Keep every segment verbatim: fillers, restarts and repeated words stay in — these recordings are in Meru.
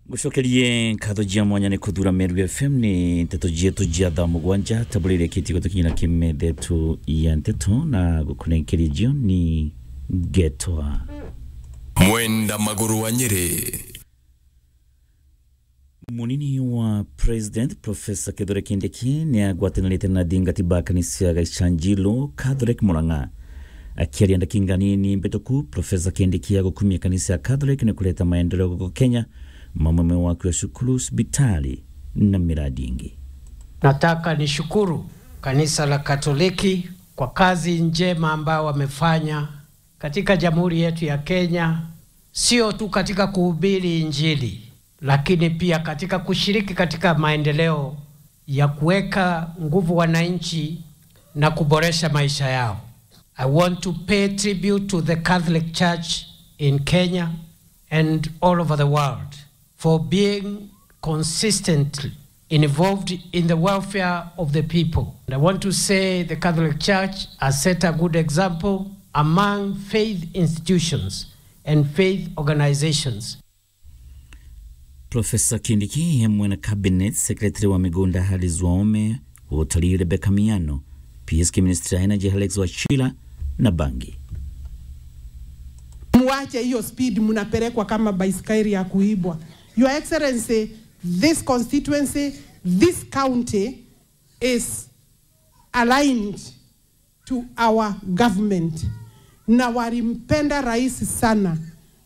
Ngucokerie nkatho jia mwanya ni kuthura Meru F M. Ni nteto jietu jia thaa mugwanja, tabula iria kiti gutukinyira kimethe tu ya nteto na gukunenkeria jioni ngetwa Mwenda Maguru wa Nyeri. Munini wa President, Professor Kithure Kindiki, ni agwatanirite na athingati ba kanisa ya Gaichanjiru Catholic Murang'a. Akiaria ndakika nini mbituku, Professor Kindiki agukumia kanisa ya Catholic ni kureta maendeleo guku Kenya, mamwe me waki wa cukuru, cibitari na miradi ingi. Nataka nishukuru kanisa la Katoliki kwa kazi njema ambayo wamefanya katika jamhuri yetu ya Kenya, sio tu katika kuhubiri Injili, lakini pia katika kushiriki katika maendeleo ya kuweka nguvu wananchi na kuboresha maisha yao. I want to pay tribute to the Catholic Church in Kenya and all over the world for being consistently involved in the welfare of the people. And I want to say the Catholic Church has set a good example among faith institutions and faith organizations. Professor Kindiki, hamwe na Cabinet Secretary wa Migunda Alice Waume, Utari Rebecca Miano, P S K Minister ya Energy Alex Wachira na bangi. Muache hiyo speed, mnapelekwa kama baiskeli ya kuibwa. Your Excellency, this constituency, this county is aligned to our government, na walimpenda rais sana,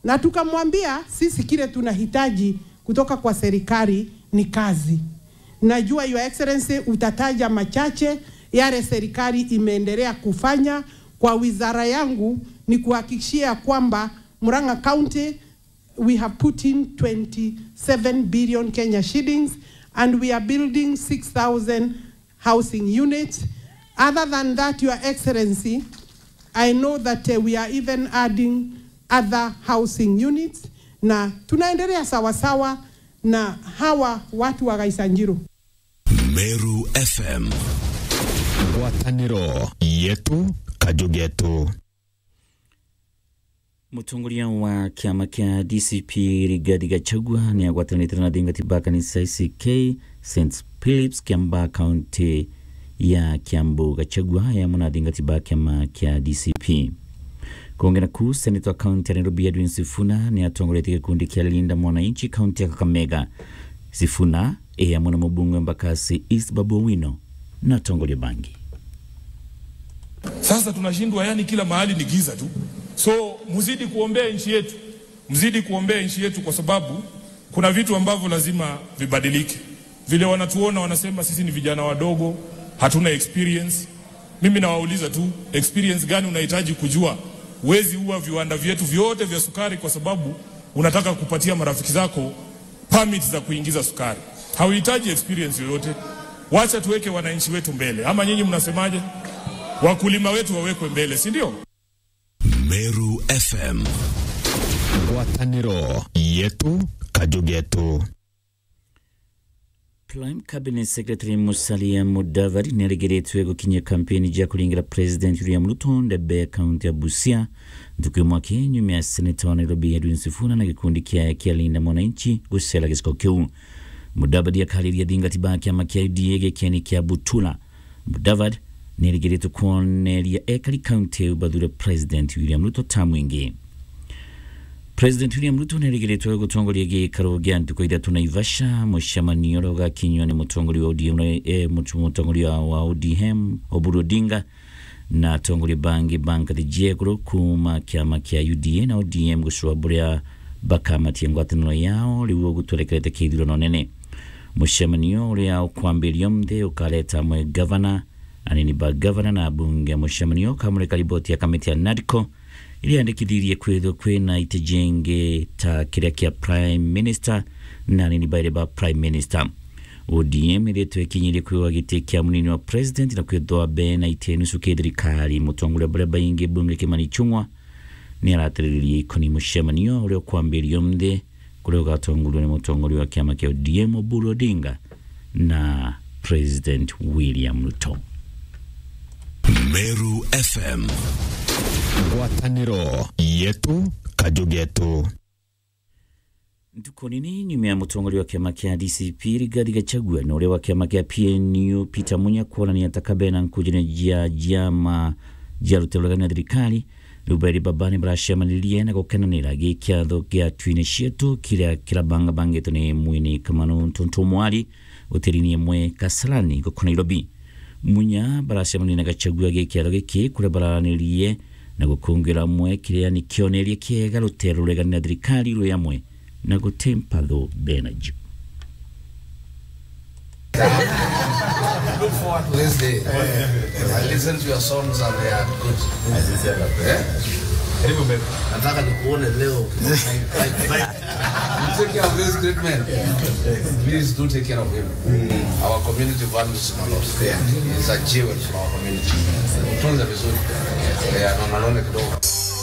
na tukamwambia sisi kile tunahitaji kutoka kwa serikali ni kazi. Najua, Your Excellency, utataja machache yale serikali imeendelea kufanya. Kwa wizara yangu, ni kuhakikishia kwamba Murang'a County, we have put in twenty-seven billion Kenya shillings, and we are building six thousand housing units. Other than that, Your Excellency, I know that, uh, we are even adding other housing units, na tunaendelea sawasawa na hawa watu wa Gaichanjiru. Meru F M. Ngwataniro yetu, kaju getu. Mutongoria wa kiama kia D C P Rigathi Gachagua ni agwatanite na athingati ba kanisa A C K Saint Philip's Kiambaa, kaunti ya Kiambu. Gachagua e amwe na athingati ba kiama kia D C P. Kungi naku, seneta wa kaunti ya Nairobi Edwin Sifuna ni atongoretie gikundi kia Linda Mwananchi kaunti ya Kakamega. Sifuna e amwe na mubunge wa Embakasi East Babu Owino na atongoria bangi. Sasa tunashindwa, yani kila mahali ni giza tu. So, mzidi kuombea nchi yetu. Mzidi kuombea nchi yetu kwa sababu kuna vitu ambavyo lazima vibadilike. Vile wanatuona wanasema sisi ni vijana wadogo, hatuna experience. Mimi nawauliza tu, experience gani unahitaji kujua? Huwezi ua viwanda vyetu vyote vya sukari kwa sababu unataka kupatia marafiki zako permit za kuingiza sukari. Hauhitaji experience yoyote. Wacha tuweke wananchi wetu mbele. Ama nyinyi mnasemaje? Wakulima wetu wawekwe mbele, si ndio? Meru F M. Ngwataniro yetu, kaju getu. Prime Cabinet Secretary Musalia Mudavadi niarigiritwe gukinyia kampeni ja kuringira President William Ruto ndebe kaunti ya Busia, ntuku imwe aki nyuma ya seneta wa Nairobi Edwin Sifuna na gikundi kiae kia Linda Mwananchi gucera giciko kiu. Mudavadi akariria athingati ba kiama kia U D A gikieni kia Butula. Mudavadi niarigiritwe kwoneria ekari kaunti iu bathure President William Ruto tamu ingi. President William Ruto niarigiritwe gutongoria gikaro gia ntuku ithatu Naivasha, mucemanio uria ugakinywa ni mutongoria wa O D M na, eh, mutu-, mutongoria wa O D M Oburu Odinga na atongoria bangi ba ngathi cia iguru kuuma kiama kia U D A na O D M gucua buria bakamatia ngwataniro yao riu gutwerekerete kithurano nene. Mucemanio uria ukwambiria umunthi ukareta amwe gavana, anini ba gavana na abunge. Mucemanio ukamurika riboti ya kamiti ya NADCO iria yandikithirie kwithirwa kwina iti jingi ta kiria kia Prime Minister na anini bairi ba Prime Minister. O D M iritwe ikinyirie kwiwa giti kia munini wa president na kwithwa bena iti nusu ki thirikari. Mutongoria baria baingi bunge Kimani Ichung'wa ni aratiriririe ikoni mucemanio uria ukwambiria umunthi, kuria ugatongorua ni mutongoria wa kiama kia O D M Oburu Odinga na President William Ruto. Meru F M. Ngwataniro yetu, kaju getu. Ntuku nini nyuma ya mutongoria wa kiama kia D C P Rigathi Gachagua na uria wa kiama kia P N U Peter Munya kwonania ta kabena nkujine jia jiama jia ruteru rugani na thirikari, riu beri babani baracemanirie na gukenanira gikiatho gia Twine Cietu kiria kirabangabangitwe ni mwini Kamanu Ntuntu Mwari utiriini imwe Kasarani guku Nairobi. Munya baracemania na Gachagua gikiatho giki kuria bararanirie na gukungira amwe kiria ni kioneria kiega ruteru ruregani na thirikari rwi amwe na guti mpatho bena ju. Look forward to this day. I listen to your songs and they are good. Eh? Nataka nikuone leo. You take care of this great man. Please do take care of him. Our community values him a lot. He's a jewel for our community. Tunza vizuri. Yeah, no, no, no, kidogo.